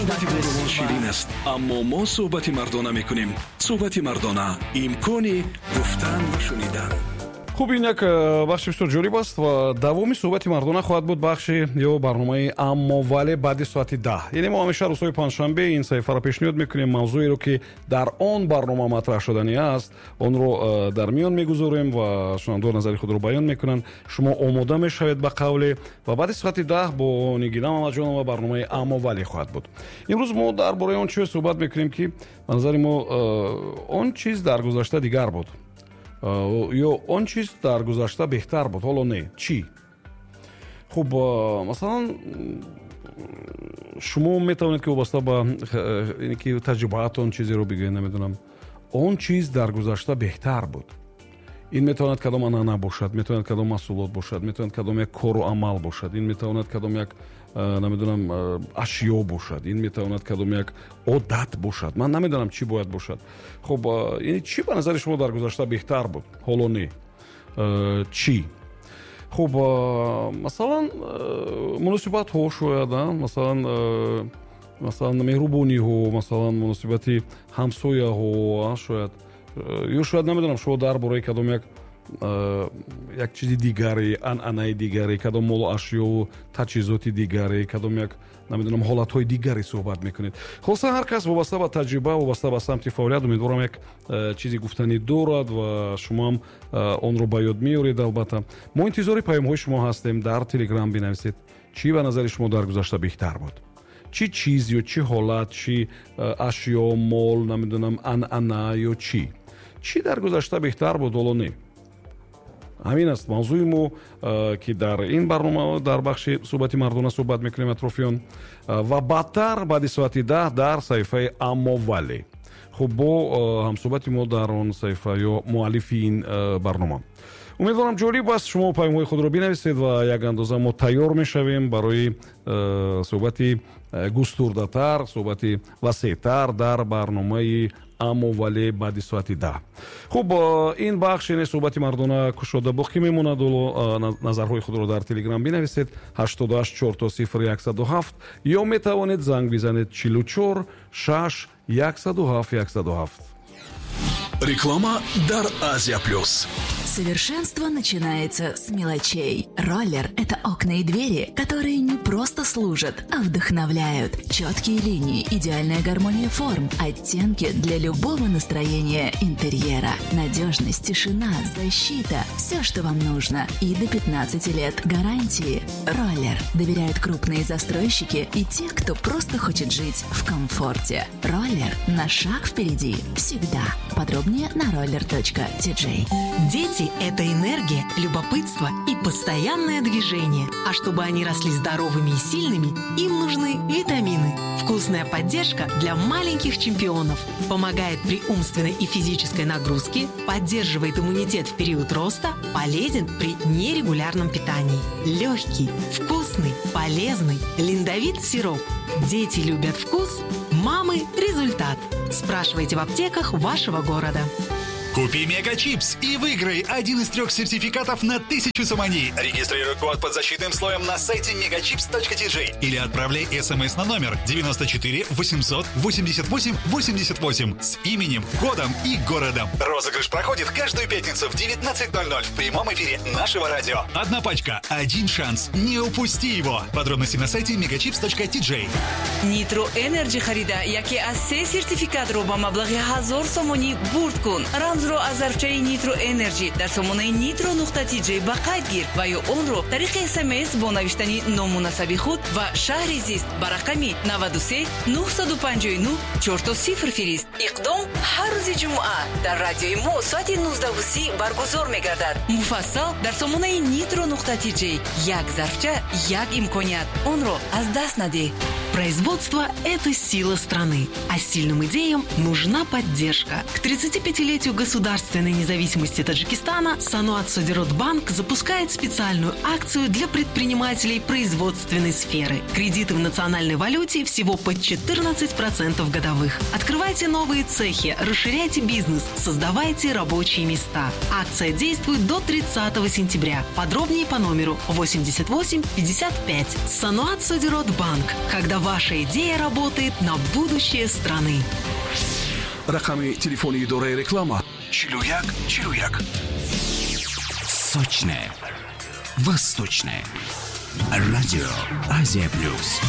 Суҳбати бонувон ширин аст, аммо мо суҳбати мардона мекунем. Суҳбати мардона — имкони гуфтан ва шунидан. Хуб, ин як бахши бисёр ҷолиб аст ва давоми суҳбати мардона хоҳад буд бахши ё барномаи «Аммо вале» баъди соати 10. Яъне мо ҳамеша рӯзҳои панҷшанбе ин саҳифаро пешниҳод мекунем. Мавзӯеро, ки дар он барнома матраҳ шуданӣ аст, онро дар миён мегузорем ва шунавандагон назари худро баён мекунанд. Шумо омода мешавед ба қавле ва баъди соати 10 бо Нигина Мамаҷонова барномаи «Аммо вале» хоҳад буд. Имрӯз мо дар бораи он чизе суҳбат мекунем, ки ба назари мо он чиз дар гузашта дигар буд ё он чиз дар гузашта беҳтар буд, ҳоло не. Чӣ? Хуб, масалан, шумо метавонед, ки вобаста ба ки таҷрибаатон чизеро бигӯед. Намедонам, он чиз дар гузашта беҳтар буд. Ин метавонад кадом анъана бошад, метавонад кадом маҳсулот бошад, метавонад кадом як кору амал бошад, ин метавонад кадом як, намедонам, ашё бошад, ин метавонад кадом як одат бошад. Ман намедонам, чӣ бояд бошад. Хуб, яъне чӣ ба назари шумо дар гузашта беҳтар буд, ҳоло не? Чӣ? Хуб, масалан, муносибатҳо шояд, масалан, меҳрубониҳо, масалан, муносибати ҳамсояҳо шояд, ё шояд, намедонам, шумо дар бораи кадом як чизи дигаре, анъанаи дигаре, кадом молу ашёву таҷҳизоти дигаре, кадом як, намедонам, ҳолатҳои дигаре суҳбат мекунед. Хулоса, ҳар кас вобаста ба таҷриба, вобаста ба самти фаъолият, умедворам, як чизи гуфтанӣ дорад ва шумоам онро ба ёд меоред. Албатта, мо интизори паёмҳои шумо ҳастем. Дар Телеграм бинависед, чӣ ба назари шумо дар гузашта беҳтар буд, чӣ чиз ё чӣ ҳолат, чӣ ашё, мол, намедонам, анъана ё чӣ. Чӣ дар гузашта беҳтар буд, ҳоло не? Ҳамин аст мавзӯи мо, ки дар ин барнома дар бахши суҳбати мардона суҳбат мекунем атрофи он ва баъдтар, баъди соати 10, дар саҳифаи «Аммо вале», хуб, бо ҳамсуҳбати мо дар он саҳифа ё муаллифи ин барнома. Умедворам, ҷолиб аст. Шумо паёмҳои худро бинависед ва як андоза мо тайёр мешавем барои суҳбати густурдатар, суҳбати васеътар дар барномаи «Аммо вале» баъди соати 10. Хуб, ин бахш, яъне суҳбати мардона, кушода боқӣ мемонад. Ҳоло назарҳои худро дар Телеграм бинависед: 88 0000 107, ё метавонед занг бизанед: 44 6 107 107. Реклама дар Азия Плюс. Совершенство начинается с мелочей. Роллер – это окна и двери, которые не просто служат, а вдохновляют. Четкие линии, идеальная гармония форм, оттенки для любого настроения интерьера. Надежность, тишина, защита – все, что вам нужно. И до 15 лет гарантии. Роллер доверяют крупные застройщики и те, кто просто хочет жить в комфорте. Роллер на шаг впереди всегда. Подробнее на roller.tj. Дети – это энергия, любопытство и постоянное движение. А чтобы они росли здоровыми и сильными, им нужны витамины. Вкусная поддержка для маленьких чемпионов. Помогает при умственной и физической нагрузке, поддерживает иммунитет в период роста, полезен при нерегулярном питании. Легкий, вкусный, полезный. Линдовит сироп. Дети любят вкус, мамы – результат. Спрашивайте в аптеках вашего города. Купи Мегачипс и выиграй один из трех сертификатов на 1000 сомони. Регистрируй код под защитным слоем на сайте megachips.tj или отправляй смс на номер 94 888 88 с именем, годом и городом. Розыгрыш проходит каждую пятницу в 19.00 в прямом эфире нашего радио. Одна пачка, один шанс. Не упусти его. Подробности на сайте megachips.tj. Нитро Энерджи харида, яке аз се сертификатро ба маблағи 1000 сомонӣ бурд кун. Рамзро аз зарфчаи Нитро Энерджи дар сомонаи nitro.tj ба қайд гир ва ё онро тариқи СМС бо навиштани ному насаби худ ва шаҳри зист ба рақами 93 959 0000 фирист. Иқдом ҳар рӯзи ҷумъа дар радиои мо соати 19:30 баргузор мегардад. Муфассал дар сомонаи nitro.tj. Як зарфча, як имконият, онро аз даст надеҳ. Производство – это сила страны, а сильным идеям нужна поддержка. К 35-летию государственной независимости Таджикистана Саноат Содиротбанк запускает специальную акцию для предпринимателей производственной сферы. Кредиты в национальной валюте всего под 14% годовых. Открывайте новые цехи, расширяйте бизнес, создавайте рабочие места. Акция действует до 30 сентября. Подробнее по номеру 88 55. Саноат Содиротбанк. Когда Ваша идея работает на будущее страны. Рақами телефони идораи реклама: 41 41. Сочное. Восточное. Радио Азия Плюс.